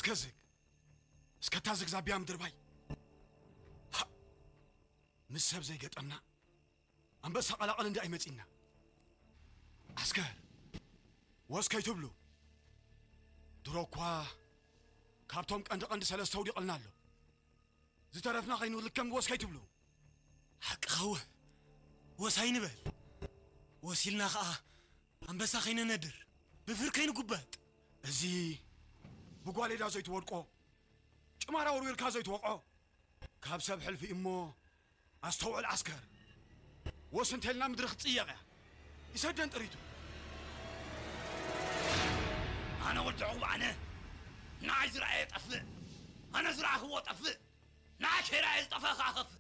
እስከ ዝግ እስከ እታ ዝግ ዛቢያ ምድርባይ። ሃ! ምስ ሰብ ዘይገጠምና ኣንበሳ ቀላቐል እንዳ ኣይመጺና። ዓስከር፣ ወስ ከይትብሉ። ድሮ እኳ ካብቶም ቀንዲ ቀንዲ ሰለስተ ውዲቕልና ኣሎ። ዝተረፍና ከይንልከም ወስ ከይትብሉ። ሓቅኻው፣ ወስ ኣይንበል። ወሲልና ኸኣ ኣንበሳ ከይነነድር፣ ብፍር ከይንጉበጥ። እዚ ብጓሌዳ ዘይትወድቆ፣ ጭማራ ወርዊርካ ዘይትወቕዖ፣ ካብ ሰብ ሕልፊ እሞ ኣስተውዕል ዓስከር። ወስ እንተልና ምድሪ ክትጽየቕ እያ። ይሰደን ጥሪቱ። ኣነ ወዲ ዕቑብ ኣነ። ንዓይ ዝረኣየ ጠፍእ። ኣነ ዝረኣኽዎ ጠፍእ። ንዓይ ከይረኣየ ዝጠፍአ ከኣ ከፍእ።